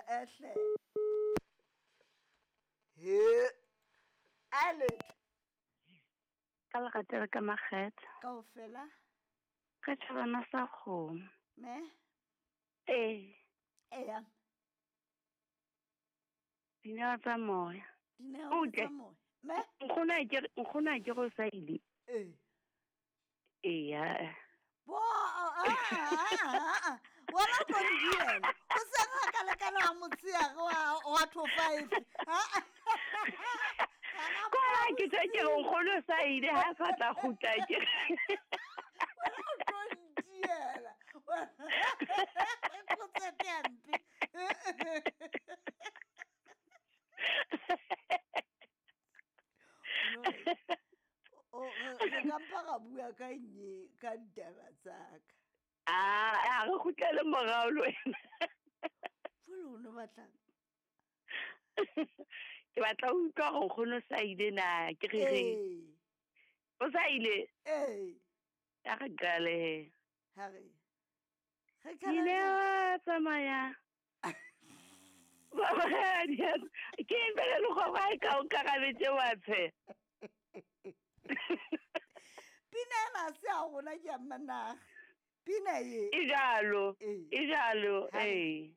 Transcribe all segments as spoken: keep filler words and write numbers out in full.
Ehle he ale Ka legatela ka makgethe. Kaofela. Ka tšhabana sa kgomo. Me. Ee. Eya. Dineo tsa moya. Dineo Utle. tsa moya. Me. Nkgono a ke nkgono a ke go sa ile. Ee. Eya. Bo a a a. Wena o tlo ndiela. O se ga ka lekana wa motshehare wa wa two five. Ha. Kwa ke tse ke re nkgono sa ile ha sa tla kgutla ke. Wena o tlo ndiela. Go tsepe hampe. No. O re ka mpa ra bua ka nye ka ditaba tsa ka. Ah, a re kgutlele morao le wena. Jwale o no batlang? Ke batla ho utlwa hore nkgono sa ile na ke re reng. Ee. O sa ile? Ee. A re qale he. Ha re. Re Dineo tsamaya. Ke eng pele le kgwebo ha e ka o nkarabetse wa tshe? Pina ena ha se ya rona ke ya Mmanaga. Pina e. E jalo. Ee. E jalo, Ha re. ee.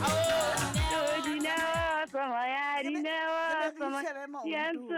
Oh, dineo tsamaya, Re be- dineo re be re tsamaya. ishebe maoto. Di a ntse